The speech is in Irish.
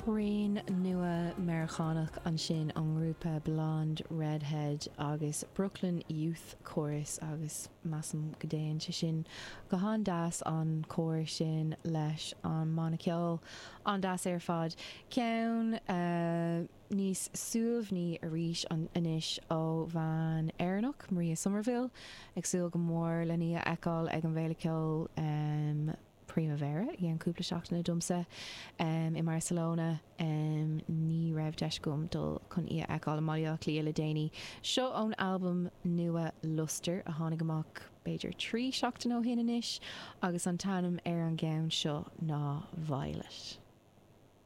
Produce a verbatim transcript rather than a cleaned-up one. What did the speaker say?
Rian nua Meiriceánach ansin ón ngrúpa Blonde Redhead agus Brooklyn Youth Chorus agus measaim go dtéann sé sin go han-deas an cór sin leis an mbanna ceoil an-deas ar fad. Ceann uh, níos suaimhní arís an anois ó bhean Éireannach Maria Somerville ag súil go mór lena í a fheiceáil ag an bhféile ceoil um, Primavera i an cúpla seachtain domsa um, i Barcelona um, ní raibh deis agam dul chun í a fheiceáil i mBaile Átha Cliath le déanaí. Seo ón album nua Luster a tháinig amach b'fhéidir trí seachtain ó shin anois agus an t-ainm ar an gceann seo ná Violet.